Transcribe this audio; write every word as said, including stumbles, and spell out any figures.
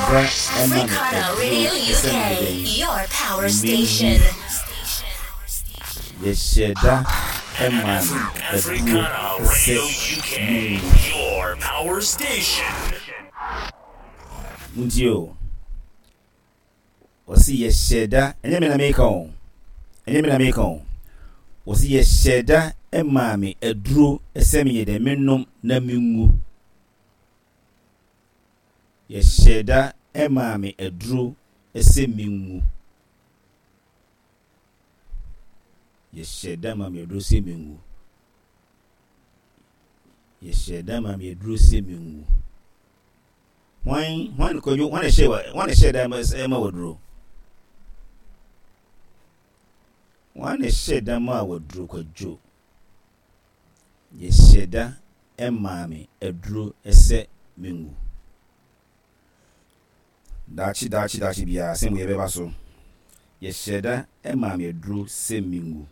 da ma me Africana aduro Radio sɛ menyɛ U K, dɛn? Your power Menwu. Station. Yɛhyɛ da ma me aduro Africana sɛ Radio U K, menwu. Your power station. Nti o, wɔsi yɛhyɛ da, ɛnyɛ me na meka o, ɛnyɛ me na meka o. Wɔsi yɛhyɛ da maa me aduro sɛ menyɛ dɛ, menom na menwu. Yɛhyɛ da maa me aduro sɛ menwu. Yɛhyɛ da maa me aduro sɛ menwu. Yɛhyɛ da maa me aduro sɛ menwu. Hwan, hwan, Kwadwo, hwan na ɛhyɛ wa, hwan na ɛhyɛ da ma ma waduro? Hwan na ɛhyɛ da ma waduro, Kwadwo? Yɛhyɛ da maa me aduro sɛ menwu. Daakye, daakye, daakye biara, asɛm wei ɛbɛba so. Yɛhyɛ da maa me aduro sɛ menwu.